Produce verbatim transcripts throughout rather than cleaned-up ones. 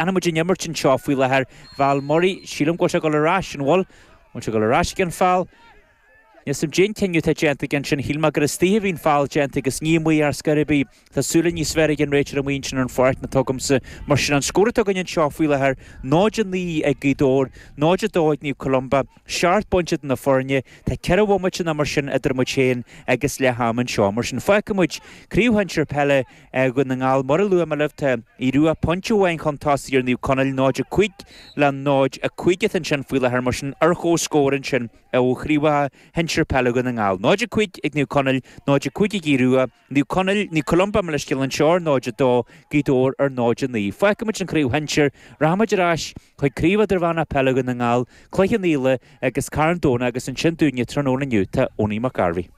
Leanfaidh muid an imirt anseo faoi láthair. Val Murray, sílim go bhfuil sé ag dul ar ais, an bhfuil? Bhfuil sé ag dul ar ais ag an foul? Níl 'fhios a'm cén cinneadh atá déanta aige ansin. Shíl mé gur istigh a bhí an foul déanta agus ní amuigh ar scor ar bith. Tá súile níos fearr ag an réiteoir amuigh ansin ar an pháirc ná atá agamsa. Mar sin, an scór atá againn anseo faoi láthair, náid a naoi ag Gaoth Dobhair, náid a dó ag Naomh Columba, seacht bpointe idir na foirne. Tá ceithre bhomaite nó mar sin idir muid féin agus leath ama anseo. Mar sin, fágfaidh muid Craobh Shinsir Peile Dhún na nGall. Mar a luaigh mé libh, tá Aodh Rua pointe amháin chun tosaigh ar Naomh Conaill, náid a cúig le náid a cúig atá ansin faoi láthair. Mar sin, ar chomhscór ansin ó Chraobhacha Shinsir Peile Dhún na nGall. náid a cúig ag Naomh Conaill, náid a cúig ag Aodh Rua, Naomh Conaill, Naomh Columba mo leithscéal anseo ar náid a dó, Gaoth Dobhair ar náid a naoi. Fágfaidh muid an Chraobh Shinsir, rachaidh muid ar ais chuig Craobh Idirmheánach Peile Dhún na nGall, Cloich Cheann Fhaola agus Carn Domhnach agus ansin dúinne tráthnóna inniu tá Owenie McGarvey.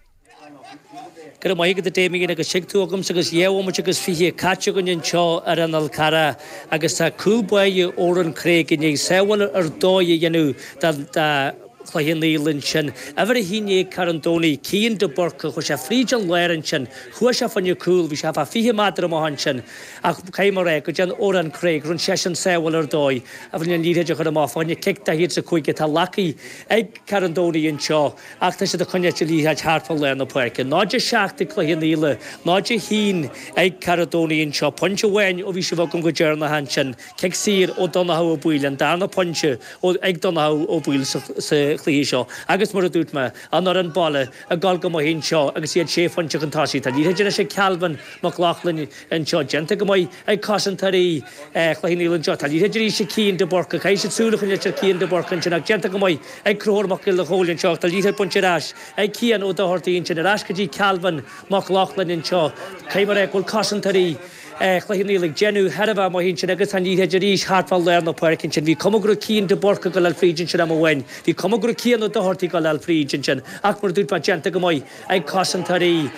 Go raibh maith agat a Damien agus tig tú agamsa agus dhá bhomaite agus fiche caite againn anseo ar an Fhal Carrach agus tá cúl báire Odhrán Craig i ndiaidh sábháil ar dóigh a dhéanamh do Chloich Cheann Fhaola ansin. Uimhir a haon déag Carn Domhnaigh, Cian de Búrca, chuaigh sé fríd an lár ansin, chuaigh sé fá choinne cúl, bhí sé fá fiche méadar amach ansin ach caithfidh mé a rá go dtéann Odhrán Craig, rinne seisean sábháil ar dóigh a bhfuil an liathróid a chur amach fá choinne cic daichead is a cúig atá glactha ag Carn Domhnaigh anseo ach tá siad ag coinneáil an liathróid thart fá lár na páirce. Náid a seacht ag Cloich Cheann Fhaola, náid a haon ag Carn Domhnaigh anseo. Pointe amháin ó bhí sibh agam go deireanach ansin. Cic saor ó Donnchadh Ó Baoill, an darna pointe ag Donnchadh Ó Baoill sa chluiche seo. Agus mar a dúirt mé, an fhoireann baile ag dul go maith anseo agus iad sé phointe chun tosaigh. Tá liathróid anois ag Calvin Mac Lochlainn anseo, déanta go maith ag cosantóirí Chloich Cheann Fhaola anseo. Tá liathróid arís ag Cian de Búrca. Caithfidh siad súil a choinneáil ar Cian de Búrca ansin ach déanta go maith ag Conchúr Mac Giolla Chóill anseo. Tá liathróid bainte ar ais ag Cian Ó Dochartaigh ansin, ar ais go dtí Calvin Mac Lochlainn anseo. Caithfidh mé a rá go bhfuil cosantóirí Chloich Cheann Fhaola ag déanamh thar a bheith maith ansin agus tá an liathróid arís thart fá lár na páirce ansin. Bhí cuma go raibh Cian de Búrca ag dul fríd ansin am amháin. Bhí cuma go raibh Cian Ó Dochartaigh ag dul fríd ansin ach mar a dúirt mé déanta go maith ag cosantóirí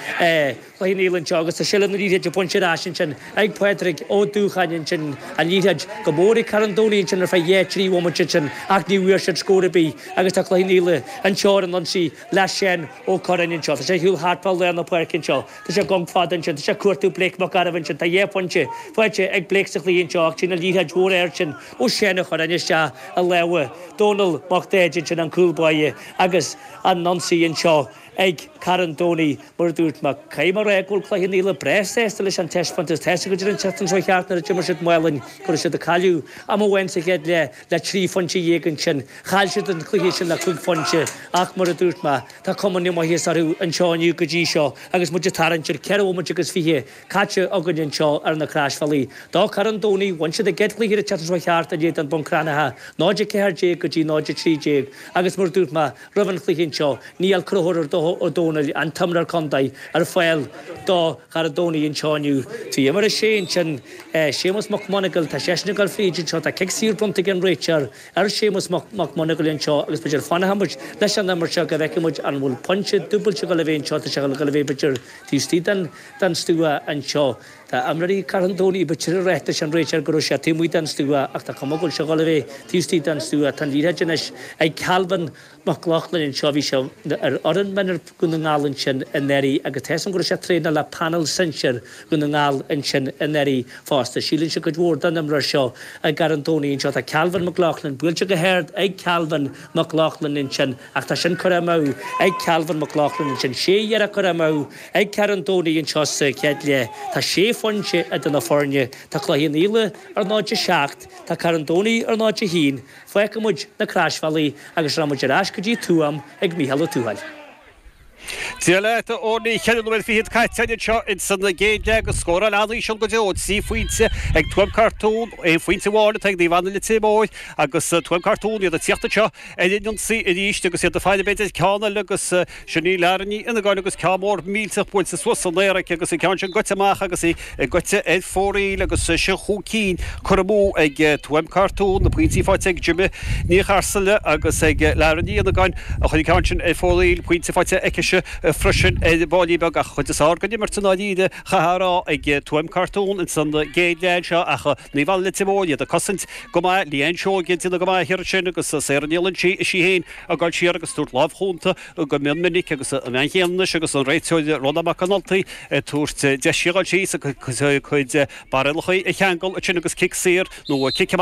Chloich Cheann Fhaola anseo agus tá seilbh na liathróide bainte ar ais ansin ag Pádraig Ó Dúcháin ansin. An liathróid go mór ag Carn Domhnaigh ansin ar feadh dhá trí bhomaite ansin ach ní bhfuair siad scór ar bith agus tá Cloich Cheann Fhaola anseo ar an ionsaí le Seán Ó Curráin anseo. Tá sé ar shiúl thart fá lár na páirce anseo. Tá sé ag gonc fada ansin. Tá sé ag cuartú Blake Mac Gairbh ansin. Tá dhá phointe faighte ag Blake sa chluiche anseo ach téann an liathróid mhór ard sin ó Sheán Ó Curráin isteach i lámha Dónal Mac Daid ansin, an cúl báire agus an ionsaí anseo ag Carn Domhnaigh. Mar a dúirt mé, caithfidh mé a rá go bhfuil Cloich Cheann Fhaola breá sásta leis an taispeántas. Tá 'fhios agat an tseachtain seo thart nuair a d'imir siad Málainn go raibh siad ag cailleadh am amháin sa chéad leath le trí phointe dhéag ansin. Chaill siad an cluiche sin le cúig phointe ach mar a dúirt mé, tá cuma na maitheasa orthu anseo inniu go dtí seo agus muid ag tarraingt ar ceithre bhomaite agus fiche caite againn anseo ar na Croisbhealaí. Do Charn Domhnaigh, bhain siad a gcéad chluiche an tseachtain seo thart in éadan Bun Cranncha, náid a ceathair déag go dtí náid a trí déag agus mar a dúirt mé roimh an chluiche anseo, níl Conchúr Ó Dónaill, an t-imreoir contae, ar fáil do Charn Domhnaigh anseo inniu. Trí uimhir a sé ansin, Séamus Mac Monagail, tá seisean ag dul fríd anseo, tá cic saor bronnta ag an réiteoir ar Séamus Mac Monagail anseo agus b'fhéidir fanfaidh muid leis an imirt seo go bhfeicfidh muid an bhfuil pointe dúbailte ag dul a bheith anseo, tá sé ag dul a bheith b'fhéidir taobh istigh den den stua anseo. Tá imreoirí Charn Domhnaigh b'fhéidir ag rá leis an réiteoir go raibh sé taobh amuigh den stua ach tá cuma go bhfuil sé ag dul a bheith taobh istigh den stua. Tá an liathróid anois ag Calvin Mac Lochlainn anseo, bhí sé ar fhoireann mionúir Dhún na nGall ansin anuraidh agus tá 'fhios agam go raibh sé ag traenáil le panel sinsir Dhún na nGall ansin anuraidh fosta. Síleann siad cuid mhór den imreoir seo i gCarn Domhnaigh anseo. Tá Calvin McLaughlin buailte go hard ag Calvin McLaughlin ansin ach tá sin curtha amú ag Calvin McLaughlin ansin. Sé iarracht curtha amú ag Carn Domhnaigh anseo sa chéad leath. Tá sé phointe idir na foirne. Tá Cloich Cheann Fhaola ar náid a seacht, tá Carn Domhnaigh ar náid a haon. Fágfaidh muid na Croisbhealaí agus rachaidh muid ar ais go dtí Tuaim ag Mícheál Ó Tuathail. Dia leat, a Owenie. Ceithre nóiméad fichead caite againn anseo ins an gcéad leath agus scóráil an-íseal go deo, trí phointe ag Tuaim Cartún, aon phointe amháin atá ag Naomh Anna Leitir Móir agus Tuaim Cartún iad ag tíocht anseo ar an ionsaí arís agus iad ag faire b'fhéidir ceann eile agus sin í Lara Ní Fhionnagáin agus ceann mór millteach buailte suas san aer aici agus an ceann sin goite amach agus í goite ar fóraoil agus sin chúig cinn curtha amú ag Tuaim Cartún, na pointí faighte ag Jimmy Ní Charsaile agus ag Lara Ní Fhionnagáin a chuir an ceann sin ar fóraoil, pointe faighte aici sin. breise freisin ar bháillí beag ach chuid is fearr den imirt i ndáiríre chaithfeá a rá ag Tuaim Cartún ins an gcéad leath anseo ach Naomh Anna Leitir Móir iad ag cosaint go maith, Leanne Seoige ag déanamh go maith thiar ansin agus Sarah Ní Loinsigh is í féin ag dul siar agus tabhairt lámh chúnta go mion minic agus an bhean chéanna anois agus an réiteoir Rónán Mac Con Ultaigh ag tabhairt deis di a dhul síos a cuid barréalacha a cheangal ansin agus cic saor nó cic amach